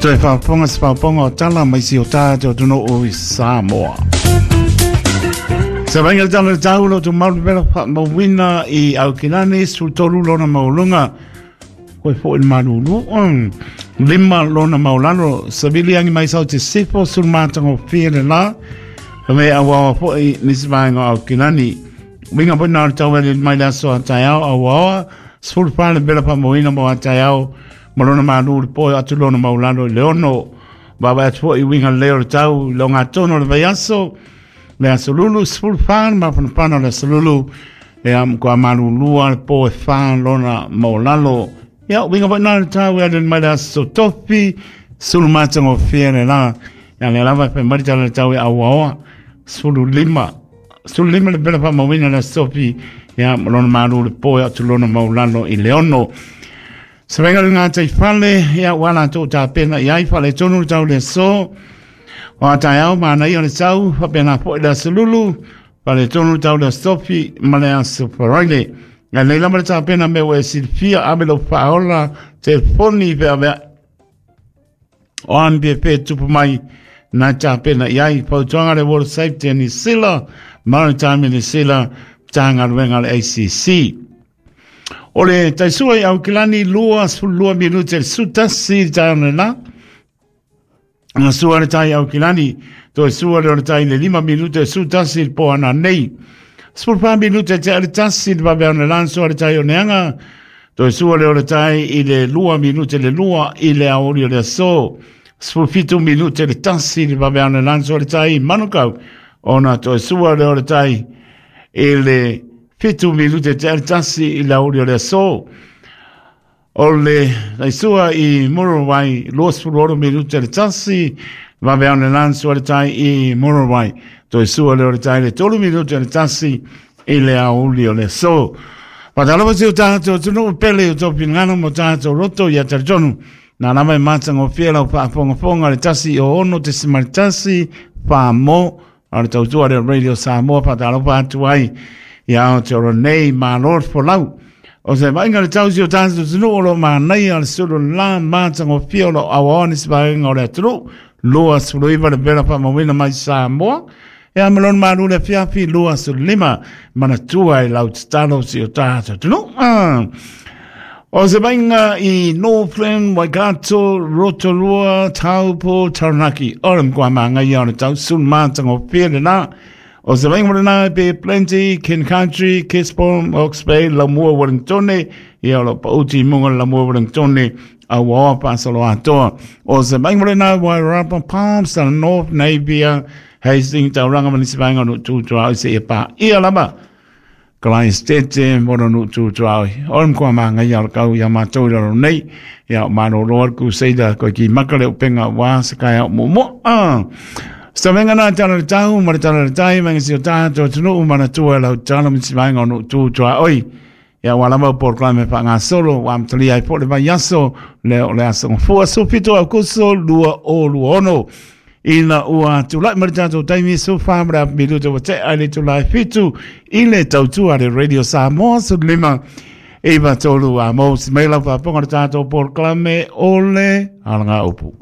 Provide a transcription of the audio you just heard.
Toe faafofoga se faafofoga o tala mai si o tātou atunuu i Samoa. Sa vainga le tala le tau lo tu malu pela whaamauina i Aukilani, 13 lona maulunga, koe fo i malulu, 5 lona maulalo, savili angi mai sau te sifo, sul mātanga o fia le la, ka me awawa fo i nisi vaenga o Aukilani. Winga po nā tau ele mai le aso a taeao awawa, 14 le pela whaamauina mo a taeao, ma lona malu le poe atu lona maulalo i le ono, Wawa atu foi i winga leo le tau i longa tono le vaiaso, le aso lulu, 14 mafanafana le aso lulu, e a mkua malulua le po e wha lona maulalo. Ia, winga foi nā le tau e ale mai le aso tofi, sulu matanga o fia le la, ia le lava e whai marita le tau e awaoa, 15. 15 le pela whamawina le aso tofi, ia, lona malu le po e atu lona maulalo i le ono. Savenga le ngā tei whale, ia ua la tō tā pena i ai whale tonu le tau le so. O a tai au mana i o le tau, whapena po i le asolulu, whale tonu le tau le asofi, ma le aso wharaile. Ngai nei lama le tā pena me ua e silfia ame lo whaola te foni whea mea. O an pie pē tupu mai nā tā pena i ai, pautuanga le Water Safety New Zealand, Maritime New Zealand, tānga ruenga le ACC. O le taisua i Aukilani 22 minute le sutasi i tae ona la. Nga sua le tai Aukilani, toe sua le o le tai le 5 minute le sutasi le po ana nei. 14 minute te ale tasi le vave ona la sua le tai o neanga. Toe sua le o le tai i le 2 minute le 2 i le aori o le aso. 17 minute le tasi le vave ona la sua le tai i Manukau. Ona toe sua le o le tai i le 7 minute te ale tasi i le aori o le aso. O le taisua i Murowai, 26 minute le tasi, vave au le lansu le tai i Murowai. Toe sua le o le tai le 3 minute le tasi i le auli o le aso. Patalofa si o tātou tunu pele o tō pingano mo tātou roto i a taritonu. Nā lava e mātanga o whia lau whaafongafonga le tasi o ono te simari tasi, wha mō, a le tautua le Radio Samoa whakatalofa atu ai i Aotearoa nei mā Lord Folau. O se vainga le tausi o tātou tunu o lo mānai a le sulu la mātanga o whia o lo awaone si vaenga o le atunu, 29 le pera whamawina mai Samoa. E a melon malu le fiafi 25 manatua e lau tatalo si o tātou tunu. O se vainga i Northland, Waikato, Rotorua, Taupo, Taranaki. O le mkua maanga ia o le tau sun mātanga o whia le la. O se vainga mo le Bay Plenty, King Country, Gisborne, Hawke's Bay, Lamua, Wellingtone, ia o lo pauti munga Lamua, Wellingtone, a waoa pāsalo atoa. O se vainga mo le nā Wairarapa, Palmerston North, Napier, Hastings, Tauranga, manisi vainga no tūtua o se e pā ia lava. Kalaistete, mora no tūtua oi. O le mkua maanga ia o le kau ia mātou i raro nei. Ia o māro roa le kūseida koe ki maka le upenga wā se kai au mo mo. Sa venga nā tala le tau, ma le tala le tai, venga si o tātou tunu mana tua lau tala misi vainga o no tūtua oi. Ia wā lava o polokalame wha ngā solo, wā mtali ai po le vai aso, le o le aso ngafua, so pito au kuso, 26. Ina ua tūlai ma le tātou taimi so whamra minuta wa te ai le tūlai fitu i le tautua le Radio Samoa so lima iwa tolu a mo si mai lau whaponga le tātou polokalame o le alanga upu.